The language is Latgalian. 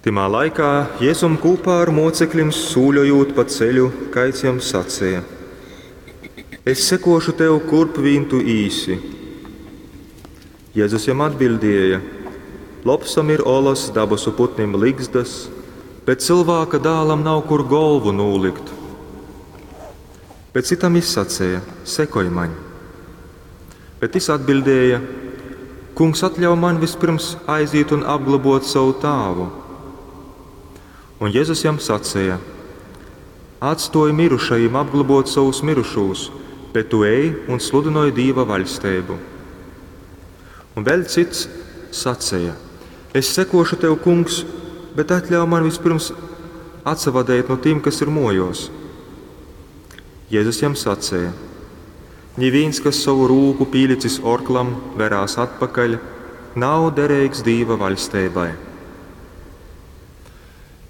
Tymā laikā Jēzum kūpā ar mocekļim sūļojūt pa ceļu, kaids jam saceja: Es sekošu tev, kurp vīn tu īsi. Jēzus jam atbildēja: Lopsam ir olas, dabasu putnim ligzdas, bet cilvēka dālam nav kur golvu nūlikt. Bet citam jis saceja: Sekoj maņ. Bet jis atbildēja: Kungs, atļauj man vispirms aiziet un apglabot savu tāvu. Un Jēzus jam sacīja: Atstoj mirušajiem apglabot savus mirušos, bet tu ej un sludinoj Dieva vaļstību. Un vēl cits sacīja: Es sekošu tev, kungs, bet atļauj man vispirms atsavadēt no tiem, kas ir mojos. Jēzus jam sacīja: Neviens, kas savu rūku pīlicis orklam, verās atpakaļ, nav derīgs Dieva vaļstībai.